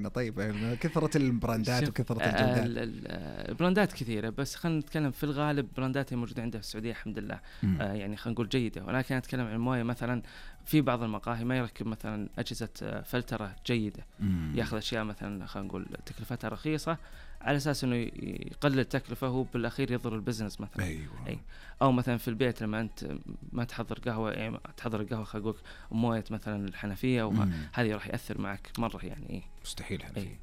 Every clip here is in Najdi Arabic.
طيب كثرة البراندات وكثرة الجودات. البراندات كثيرة، بس خلينا نتكلم في الغالب براندات الموجودة عندها في السعودية الحمد لله يعني خلينا نقول جيدة. ولكن أتكلم عن الموية مثلا في بعض المقاهي ما يركب مثلا أجهزة فلترة جيدة، يأخذ أشياء مثلا خلينا نقول تكلفتها رخيصة على أساس إنه يقلل تكلفة، هو بالأخير يضر البزنس مثلا. أيوة. أو مثلا في البيت لما أنت ما تحضر قهوة، يعني تحضر القهوة خلينا نقول موية مثلا الحنفية، وهذه راح يأثر معك مرة يعني. مستحيل حنفية.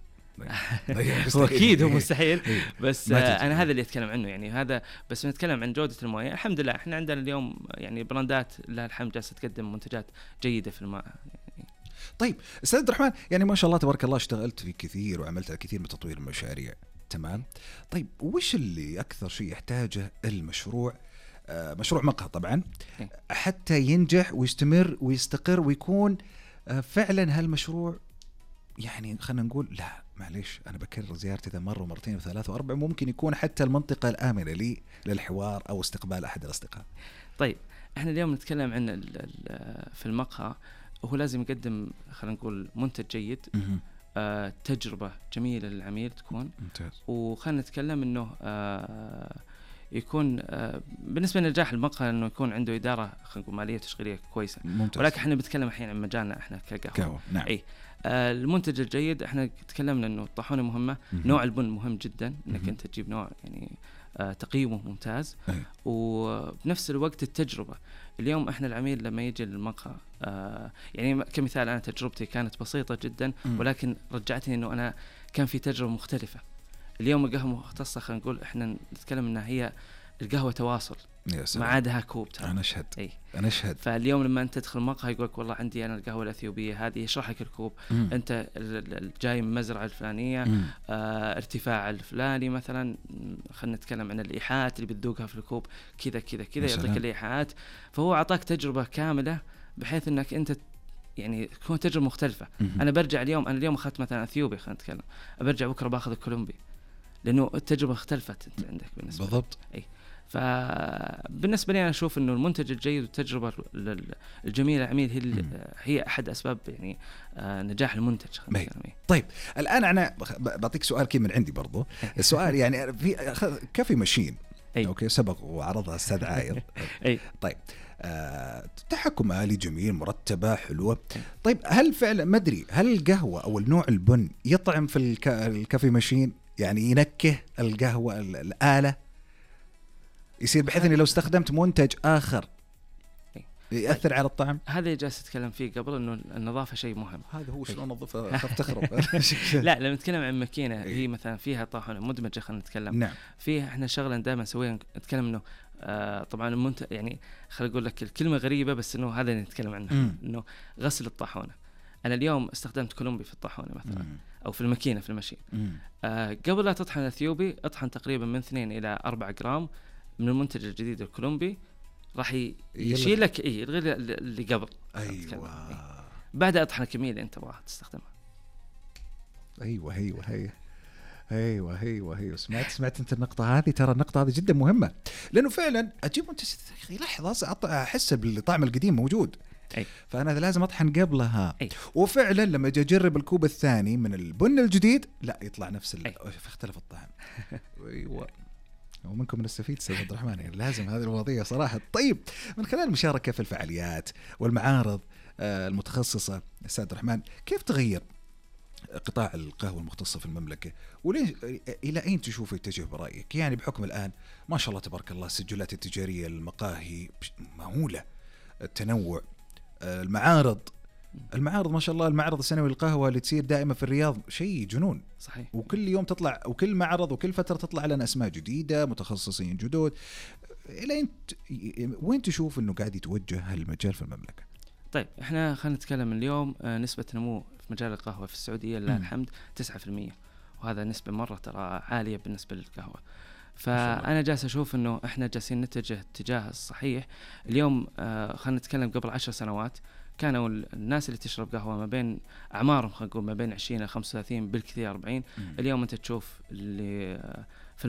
أكيد هو مستحيل. بس أنا هذا اللي أتكلم عنه يعني. هذا بس نتكلم عن جودة الموية. الحمد لله إحنا عندنا اليوم يعني براندات لها الحمد جالسة تقدم منتجات جيدة في الماء يعني. طيب أستاذ عبد الرحمن، يعني ما شاء الله تبارك الله اشتغلت في كثير وعملت على كثير من تطوير المشاريع، تمام؟ طيب وش اللي أكثر شيء يحتاجه المشروع، مشروع مقهى طبعا، حتى ينجح ويستمر ويستقر ويكون فعلا هالمشروع يعني خلينا نقول لا معليش أنا بكرر زيارتي ذا مرة ومرتين وثلاثة وأربعة، ممكن يكون حتى المنطقة الآمنة لي للحوار أو استقبال أحد الأصدقاء. طيب إحنا اليوم نتكلم عن في المقهى، هو لازم يقدم خلينا نقول منتج جيد، تجربة جميلة للعميل تكون ممتاز. وخلينا نتكلم إنه يكون بالنسبة لنجاح المقهى إنه يكون عنده إدارة خلينا نقول مالية تشغيلية كويسة. ممتاز. ولكن إحنا بنتكلم الحين عن مجالنا إحنا كقهوة. نعم. أي المنتج الجيد إحنا تكلمنا إنه الطاحونة مهمة، نوع البن مهم جدا، إنك أنت تجيب نوع يعني تقييمه ممتاز، وبنفس الوقت التجربة. اليوم إحنا العميل لما يجي للمقهى يعني كمثال أنا تجربتي كانت بسيطة جدا، ولكن رجعتني إنه أنا كان في تجربة مختلفة. اليوم القهوة مختصة خلينا نقول إحنا نتكلم إنها هي القهوة تواصل، ما عادها كوب. أنا أشهد. فاليوم لما أنت تدخل مقهى يقولك والله عندي أنا القهوة الأثيوبية هذه، يشرح لك الكوب، أنت جاي من مزرعة الفلانية، ارتفاع الفلاني مثلا، خلينا نتكلم عن الإيحاءات اللي بتذوقها في الكوب كذا كذا كذا، يعطيك الإيحاءات. فهو أعطاك تجربة كاملة بحيث أنك أنت يعني تكون تجربة مختلفة. أنا برجع اليوم، أنا اليوم أخذت مثلا أثيوبي خلينا نتكلم، برجع بكرة باخذ الكولومبي، لأنه التجربة اختلفت أنت عندك بالنسبة بالضبط. فبالنسبة لي أنا أشوف إنه المنتج الجيد والتجربة الجميلة العميل هي أحد أسباب يعني نجاح المنتج. طيب الآن أنا بعطيك سؤال كي من عندي برضو. السؤال يعني في كافي ماشين أوكي سبق وعرضها الأستاذ عاير. طيب تحكم آلي جميل مرتبة حلوة. طيب هل فعلا ما أدري هل القهوة أو النوع البن يطعم في الكافي ماشين، يعني ينكه القهوة الآلة يصير بحيث اني لو استخدمت منتج اخر يأثر على الطعم؟ هذا جالس اتكلم فيه قبل، انه النظافه شيء مهم. هذا هو شلون انظفها خاف تخرب. لا لما نتكلم عن ماكينه هي مثلا فيها طاحونه مدمجه خلينا نتكلم. نعم. فيها احنا شغله دائما نسويها نتكلم انه طبعا المنتج يعني خليني اقول لك الكلمه غريبه بس انه هذا اللي نتكلم عنه، انه غسل الطاحونه. انا اليوم استخدمت كولومبي في الطاحونه مثلا او في الماكينه في المشين. قبل لا تطحن الاثيوبي اطحن تقريبا من 2 إلى 4 جرام من المنتج الجديد الكولومبي، راح يشيل لك يلغي اللي قبل. ايوه. بعد اطحن الكميه اللي انت تبغاها تستخدمها. ايوه سمعت انت النقطه هذه. ترى النقطه هذه جدا مهمه، لانه فعلا اجيب منتج لحظه احس بالطعم القديم موجود. فانا لازم اطحن قبلها. وفعلا لما اجي اجرب الكوب الثاني من البن الجديد لا يطلع نفس اختلف الطعم. ايوه. ومنكم نستفيد سيد عبد الرحمن، يعني لازم هذه المواضيع صراحة. طيب من خلال المشاركة في الفعاليات والمعارض المتخصصة أستاذ عبد الرحمن، كيف تغير قطاع القهوة المختصة في المملكة إلى أين تشوف يتجه برأيك؟ يعني بحكم الآن ما شاء الله تبارك الله السجلات التجارية المقاهي مهولة، التنوع، المعارض ما شاء الله، المعرض السنوي للقهوة اللي تصير دائما في الرياض شيء جنون. صحيح. وكل يوم تطلع وكل معرض وكل فترة تطلع لنا أسماء جديدة متخصصين جدد. وين تشوف أنه قاعد يتوجه هالمجال في المملكة؟ طيب احنا خلينا نتكلم اليوم نسبة نمو في مجال القهوة في السعودية لله الحمد 9%، وهذا نسبة مرة ترى عالية بالنسبة للقهوة. فأنا جالس أشوف أنه إحنا جالسين نتجه اتجاه الصحيح. اليوم خلينا نتكلم قبل 10 سنوات كانوا الناس اللي تشرب قهوة ما بين أعمارهم خلينا نقول ما بين 20 إلى 35 بالكثير 40. اليوم أنت تشوف اللي في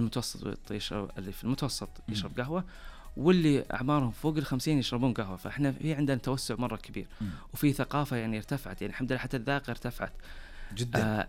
المتوسط يشرب قهوة، واللي أعمارهم فوق 50 يشربون قهوة. فإحنا في عندنا توسع مرة كبير، وفي ثقافة يعني ارتفعت، يعني الحمد لله حتى الذاقة ارتفعت جدا.